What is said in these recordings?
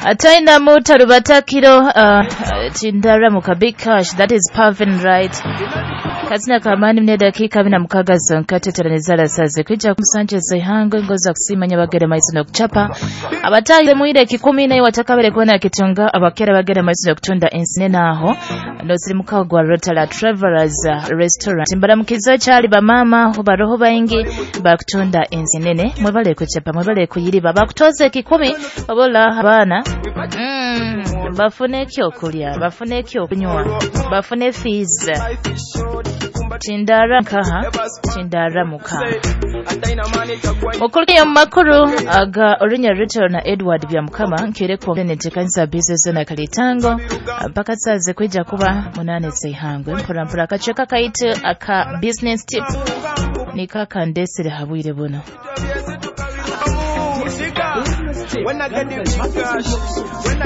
Ataina mutarubatakiro tindara big cash, that is Pavin, right? Kazina kamani mne dakika 16 zonka teteranizala saze kwija kumusanje zihangwe ngoza kusimanya bagere maiso no kuchapa abatahire muire kikumi naye watakabere kuona kitunga abakera bagere maiso no kutunda ensine naho nosirimuka gwa Rotala Travelers Restaurant mbaramukizo cyali bamama baroho baingi bakutunda ensinene mwebale kuchapa mwebale kuyiriba bakutoze kikumi babola abana bafune ekyokulya, bafune ekyokunywa, bafune fees. Tindara nkaha, tindara muka. Mukuru ya makuru aga Orinya Rachel na Edward Byamukama nkireko netekanisa business na kalitango mpaka saze kwija kuba 8 zihangwe mpora mpora akacheka kaite aka business tip nikakandesere habwire buno.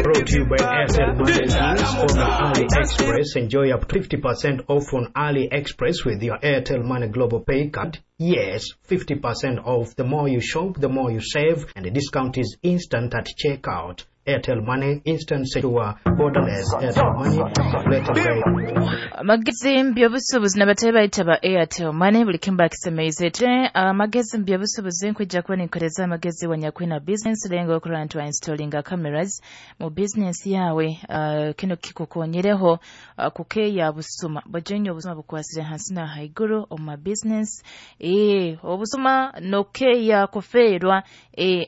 Brought to you by Airtel Money Deals on AliExpress. Enjoy up to 50% off on AliExpress with your Airtel Money Global Pay Card. Yes, 50% off. The more you shop, the more you save, and the discount is instant at checkout. Airtel Money, instant, secure, borderless. Airtel Money, later rate. Amagezi mbyobusuubuzi n'abatali bayita ba Airtel Money buli kimu bakisemeize te amagezi mbyobusuubuzi nkwijja kuba ninkoleza amagezi wanyakwina business lengo okurora nti installinga cameras mu business yawe. Kino kikukonyereho kukeya busuma bojenya obusuma bukwasire hansi na haiguru omu business obusuma nokeya kufeerwa.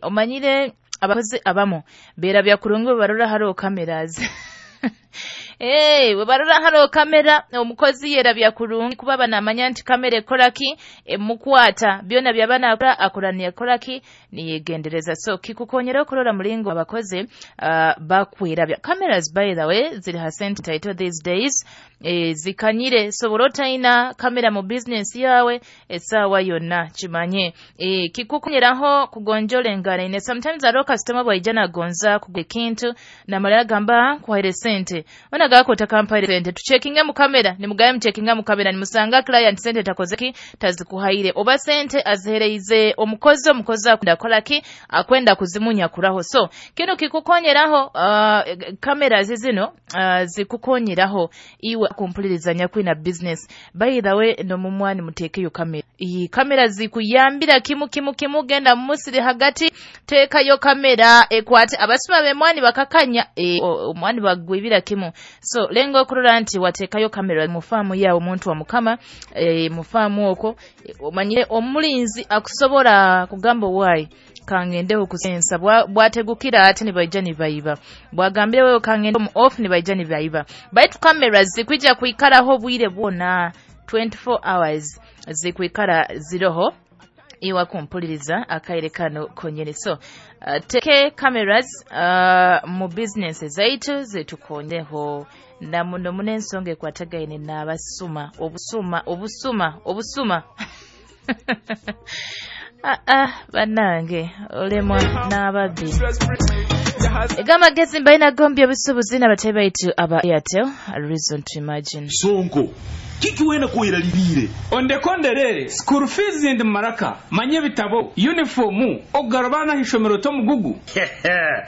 Omanyire abakozi abamu bera bya kurungu barora haro cameras. Barora haro kamera omukozi yera bya kurungi kuba banamanya nti kamera ekoraki emukwata byona byabana akora akoraniye koraki niyegendereza. So kikukonyera okurora mulingo abakozi bakwera bya cameras. By the way, ziri hasent title these days, zikanyire. So borotaina kamera mu business yawe esawa yonna kimanye kikukonyeraho kugonjola engaraine. Sometimes aro customer bwaijana gonza kugula ekintu namala gamba kwaire sente ona gako takampaire sente tuchekinga mu kamera nimugaye muchekinga mu kamera nimusanga client sente takozeki tazikuhaire oba sente azihereize omukozi akwenda kolaki akwenda kuzimunya kuraho. So kino kikukonyeraho kamera zizino zikukonyeraho iwe kumpuliriza kwina business. By the way, no mumwani mutekeyo kamera. Iyi kamera zikuyambira kimu kimu kimu genda musiri hagati tekayo kamera ekwate abasuma bemwani bakakanya omwani bagwibira kimu. So lengo okurora nti watekayo kamera mu faamu yawe omuntu wa mukama mu faamu okwo omanyire omulinzi akusobola kugamba why kangendeho kusensa bwategukira ate nibaija nibaiba bwagambire wewe kangende mu off nibaija nibaiba. Baitu kamera zikwija kuikaraho bwire bwona 24 hours zikwikara ziroho iwa kumpuliriza akaire kano konyene. So teke cameras mu business zaitu zitukonyeho na muno munensonga ekwatagaine n'abasuma obusuma obusuma obusuma. Banange olemwa n'ababbi egamba gezi mbaina gombya busubuzi n'abatali baitu aba Airtel, a reason to imagine. Sonko kiki wena kuiralirire ondekonderere school fees ndi maraka manye bitabo uniform ogarabana hishomero to mugugu.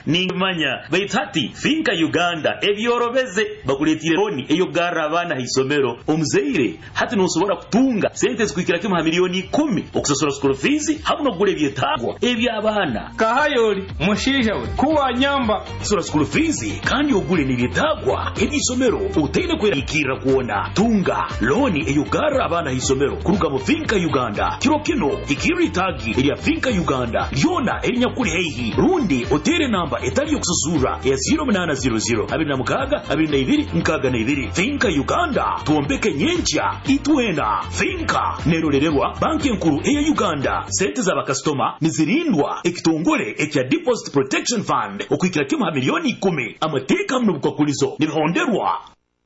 Ningimanya baitati finka Uganda ebyorobeze bakuletire loni eyo garra abana hisomero omuzeire hati nosobora kutunga sente zikuikira kimu ha milioni 10 okusasura school fees hamwe nokugula ebyetagwa ebyabana kahayoli mushisha we kuwa nyamba sura school fees kandi ogule nibyetagwa ebyisomero utaine kwerikira kuona tunga loni eyugara abana hisomero kuruga mu Finka Uganda kiro kino ikiri tagi erya Finka Uganda lyona erinyakuri heihi rundi otere namba etali yokususura ya 0800 26 22 62. Finka Uganda tuombeke nyencha itwena. Finka nerorererwa banki enkuru eya Uganda. Sente za bakastoma nizirindwa ekitongole ekya Deposit Protection Fund okuikira kimu ha milioni 10 amateeka muno bukwakulizo nibihonderwa.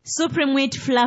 Supreme Wheat Flour.